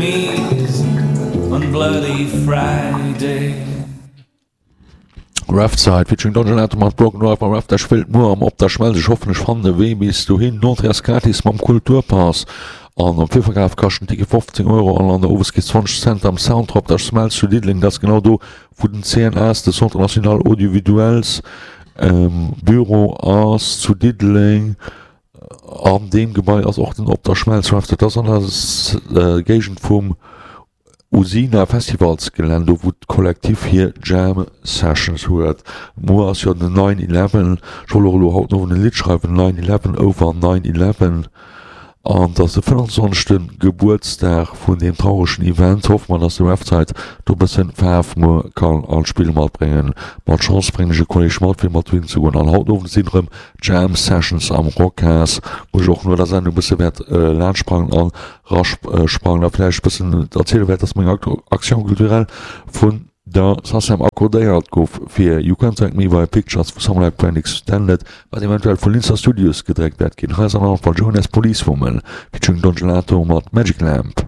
knees on Bloody Friday. Raftside featuring Don Gelato mat Broken Drive mam Raft Ech wéilt muer am Op der Schmelz Ech hoffen ech fannen e Wee bis dohin D'Entrée ass gratis mam Kulturpass an am Virverkaf kascht den Ticket 15 Euro an an der Oweskeess 20 Cent am Centre Op der Schmelz zu Diddeleng. Dat ass genau do wou den CNAS, de Centre National Audiovisuels Büro ass zu Diddeleng. An deem Gebai ass och den Op der Schmelz Raft. Dat ass an der Géigend vum Usina Festivalsgelänn, do wou d'Kollektiv hir Jam Sessions huet. Muer ass jo den Nine Eleven. Ech wollt och elo haut den Owend e Lidd schreiwen, Nine Eleven over Nine Eleven. An et ass de 25. Gebuertsdag vun deem trauregen Event. Hoffe mer, dass de Refzeit do e bëssen Faarf muer kann an d'Spill matbréngen. Mat Chance bréngen ech e Kolleg mat, fir mat dohin ze goen. An haut den Owend sinn erëm Jam Sessions am Rockhas, wou ech och no der Sendung e bësse wäert laanschtsprangen an rasprangen a vläicht e bëssen erziele wäert, dass meng Action culturelle vun der SACEM accordéiert gouf fir You Can't Thank Me by Pictures vu Samurai Brand Extended, wat eventuell vu Linzer Studios gedréckt wäert ginn. Hei ass an allem Fall Jonas Policewoman featuring Don Gelato mat Magic Lamp.